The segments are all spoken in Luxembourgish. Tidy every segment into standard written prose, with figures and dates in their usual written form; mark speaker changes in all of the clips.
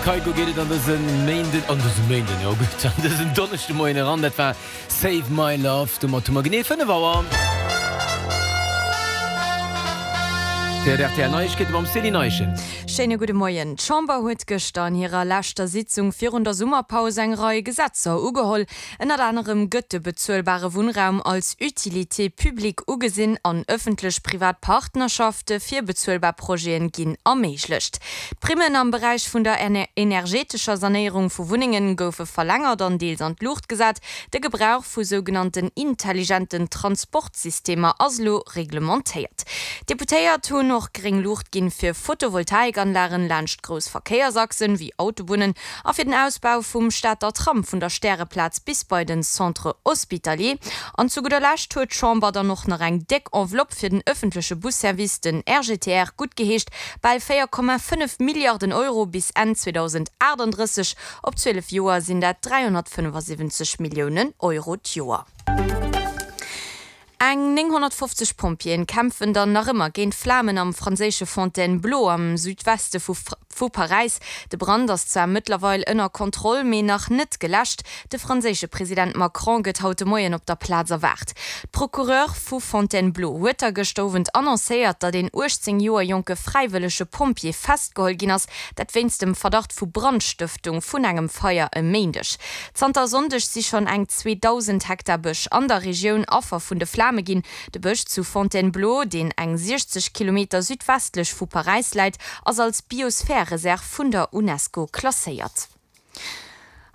Speaker 1: Kygo geet et an dëse Méinden, an dëse Méinden, jo gutt, an dësen Donneschdemoien eran. Dat war Save My Love. Domat hu mer genee 5 Auer. Fir d'RTL Neiegkeete mam Céline Eischen.
Speaker 2: Schéine gudde Moien. D'Chamber huet gëschter an hirer leschter Sitzung virun der Summerpaus eng Rei Gesetzer ugeholl. Ënnert anerem gëtt de bezuelbare Wunnraum als Utilité publique ugesinn an ëffentlech-privat Partnerschafte fir bezuelbar Projete ginn erméiglecht. D'Primmen am Beräich vun der energetescher Sanéierung vu Wunnenge goufe verlängert an deels an d'Luucht gesat. De Gebrauch vu sougenannten intelligenten Transportsystemer ass elo reglementéiert. D'Deputéiert hunn och gréng Luucht ginn fir Photovoltaikanlagen laanscht grouss Verkéiersachsen, wéi Autobunnen, a fir den Ausbau vum Stater Tram vun der Stäreplaz bis bei den Centre Hospitalier. An zu gudder Lescht huet d'Chamber dann och nach eng déck Enveloppe fir den ëffentleche Busservice, den RGTR, guttgeheescht, bal 4,5 Milliarden Euro bis Enn 2038. Op 12 Joer sinn dat 375 Milliounen Euro d'Joer. Eng 950 Pompjeeën kämpfen dann nach ëmmer géint d'Flamen am franséische Fontainebleau am Südweste vu Paräis. De Brand ass zwar mëttlerweil ënner Kontroll, mee nach net geläscht. De franséische President Macron gëtt haut de Moien op der Plaz erwaart. D'Procureur vu Fontainebleau huet da gëschter Owend annoncéiert, datt een 18 Joer jonke fräiwëllege Pompjee festgeholl ginn ass, dat wéinst dem Verdacht vu Brandstëftung vun engem Feier e Méindeg. Zanter e Sonndeg si schonn eng 2.000 Hektar Bësch an der Regioun Affer vun de Flame ginn. De Bësch zu Fontainebleau, deen eng 60 Kilometer südwestlech vu Paräis läit, ass als Biosphärereserv vun der Unesco klasséiert.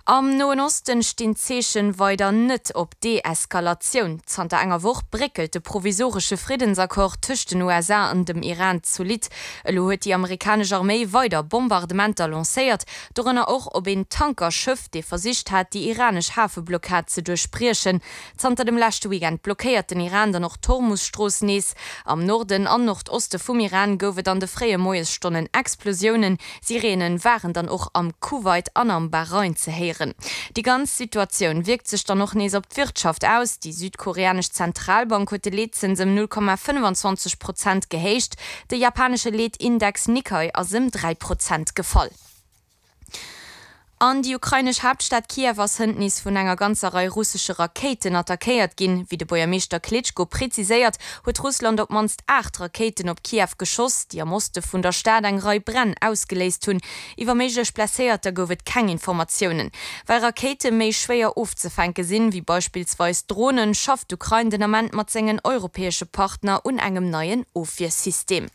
Speaker 2: Am Noen Osten stinn d'Zeechen weider net op Deeskalatioun. Zanter enger Woch bréckelt de provisoresche Friddensaccord tëscht den USA an dem Iran zolidd. Elo huet déi amerikanesch Arméi weider Bombardementer lancéiert. Dorënner och op een Tankerschëff, dee versicht hat, déi iranesch Hafeblockad ze duerchbriechen. Zanter dem leschte Weekend blockéiert den Iran dann och d'Hormus-Strooss nees. Am Norden an Nordoste vum Iran gouf et an de fréie Moiesstonnen Explosiounen. Sireene waren dann och am Kuwait an am Bahrain ze héieren. Déi ganz Situatioun wierkt sech dann och nees op d'Wirtschaft aus. Déi südkoreanesch Zentralbank huet de Leetzëns ëm 0,25 Prozent gehéicht. De japanesche Leetindex Nikkei ass ëm 3 Prozent gefall. An déi ukrainesch Haaptstad Kiew ass hënt nees vun enger ganzer Rei russesche Rakéiten attackéiert ginn. Wéi de Buergermeeschter Klitschko preziséiert, huet Russland op d'mannst 8 Rakéiten op Kiew geschoss, déi am Oste vun der Stad eng Rei Bränn ausgeléist hunn. Iwwer méiglech Blesséierter gouf et keng Informatiounen. Well Rakéite méi schwéier ofzefänke sinn, wéi beispillsweis Dronen, schafft d'Ukrain den Ament mat sengen europäesche Partner un engem neien Ofwiersystem.